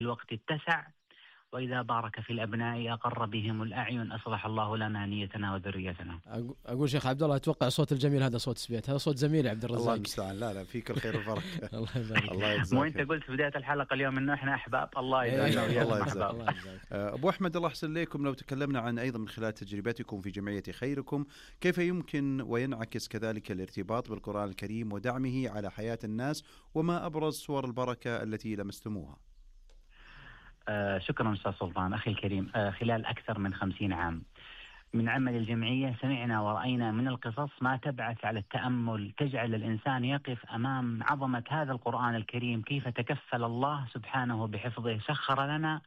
الوقت اتسع، وإذا بارك في الأبناء أقر بهم الأعين، أصلح الله لنا نيتنا وذريتنا. أقول شيخ عبد الله، أتوقع صوت الجميل هذا صوت سبيت، هذا صوت زميلي عبد الرزاق. الله المستعان. لا فيك الخير والبركة. الله يبارك. الله يجزاك. مو أنت قلت في بداية الحلقة اليوم إنه إحنا أحباب؟ الله يجزاك. الله يجزاك. أبو أحمد، الله يحسن لكم، لو تكلمنا عن أيضا من خلال تجربتكم في جمعية خيركم، كيف يمكن وينعكس كذلك الارتباط بالقرآن الكريم ودعمه على حياة الناس، وما أبرز صور البركة التي لمستموها؟ شكرا أستاذ سلطان أخي الكريم. خلال أكثر من 50 عام من عمل الجمعية سمعنا ورأينا من القصص ما تبعث على التأمل، تجعل الإنسان يقف أمام عظمة هذا القرآن الكريم، كيف تكفل الله سبحانه بحفظه. سخر لنا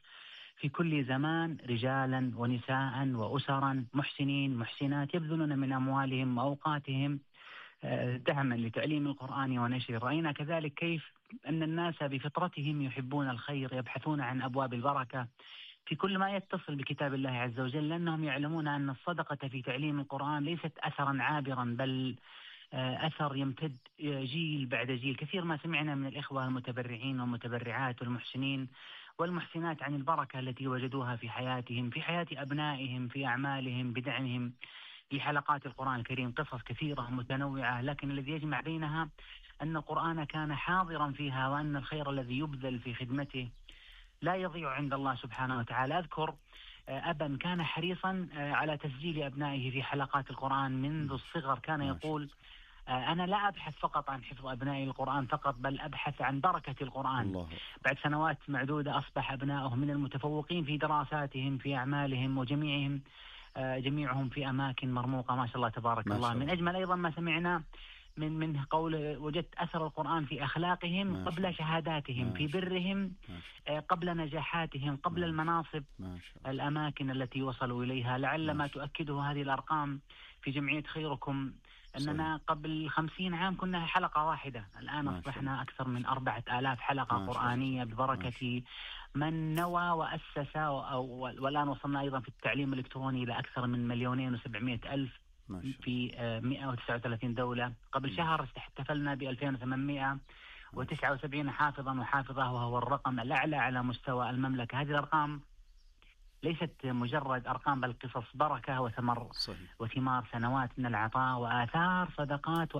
في كل زمان رجالا ونساء وأسرا محسنين محسنات يبذلون من أموالهم وأوقاتهم دعما لتعليم القرآن ونشره. رأينا كذلك كيف أن الناس بفطرتهم يحبون الخير، يبحثون عن أبواب البركة في كل ما يتصل بكتاب الله عز وجل، لأنهم يعلمون أن الصدقة في تعليم القرآن ليست أثرا عابرا، بل أثر يمتد جيل بعد جيل. كثير ما سمعنا من الإخوة المتبرعين والمتبرعات والمحسنين والمحسنات عن البركة التي وجدوها في حياتهم، في حياة أبنائهم، في أعمالهم، بدعمهم لحلقات القرآن الكريم. قصص كثيرة متنوعة، لكن الذي يجمع بينها أن القرآن كان حاضرا فيها، وأن الخير الذي يبذل في خدمته لا يضيع عند الله سبحانه وتعالى. أذكر أبا كان حريصا على تسجيل أبنائه في حلقات القرآن منذ الصغر، كان يقول أنا لا أبحث فقط عن حفظ أبنائي القرآن فقط، بل أبحث عن بركة القرآن. الله. بعد سنوات معدودة أصبح أبنائه من المتفوقين في دراساتهم، في أعمالهم، جميعهم في أماكن مرموقة ما شاء الله تبارك الله. من أجمل أيضا ما سمعنا من قول وجدت أثر القرآن في أخلاقهم قبل شهاداتهم، في برهم قبل نجاحاتهم، قبل المناصب، الأماكن التي وصلوا إليها. لعل ما تؤكده هذه الأرقام في جمعية خيركم أننا قبل 50 عام كنا حلقة واحدة، الآن أصبحنا أكثر من 4000 حلقة قرآنية ببركة من نوى وأسس، والآن وصلنا أيضا في التعليم الإلكتروني إلى أكثر من 2,700,000 في 139 دولة. قبل شهر احتفلنا ب 2879 حافظا وحافظة، وهو الرقم الأعلى على مستوى المملكة. هذه الأرقام ليست مجرد أرقام، بل قصص بركة وثمار سنوات من العطاء وآثار صدقات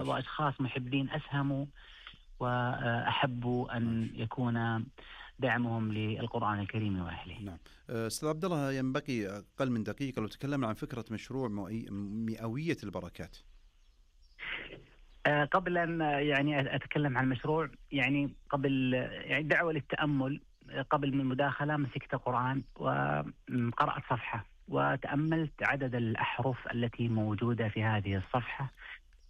وأشخاص محبين أسهموا وأحبوا أن يكون دعمهم للقرآن الكريم وأهله. نعم. أستاذ عبد الله، ينبغي أقل من دقيقة لو تكلمنا عن فكرة مشروع مئوية البركات. قبل أن أتكلم عن المشروع، قبل دعوة للتأمل، قبل من المداخلة مسكت قرآن وقرأت صفحة وتأملت عدد الأحرف التي موجودة في هذه الصفحة،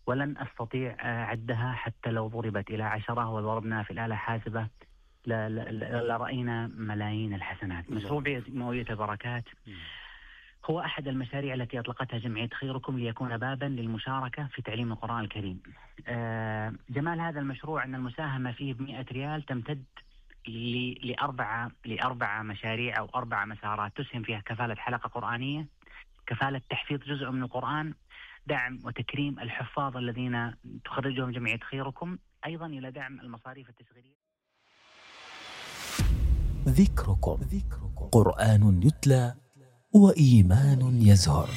ولن أستطيع عدها حتى لو ضربت إلى 10 وضربنا في الآلة حاسبة لرأينا ملايين الحسنات. مشروع مئوية البركات هو أحد المشاريع التي أطلقتها جمعية خيركم ليكون بابا للمشاركة في تعليم القرآن الكريم. جمال هذا المشروع أن المساهمة فيه ب100 ريال تمتد لأربع مشاريع أو 4 مسارات تسهم فيها: كفالة حلقة قرآنية، كفالة تحفيظ جزء من القرآن، دعم وتكريم الحفاظ الذين تخرجهم جمعية خيركم، أيضا إلى دعم المصاريف التشغيلية. ذكركم قرآن يتلى وإيمان يزهر.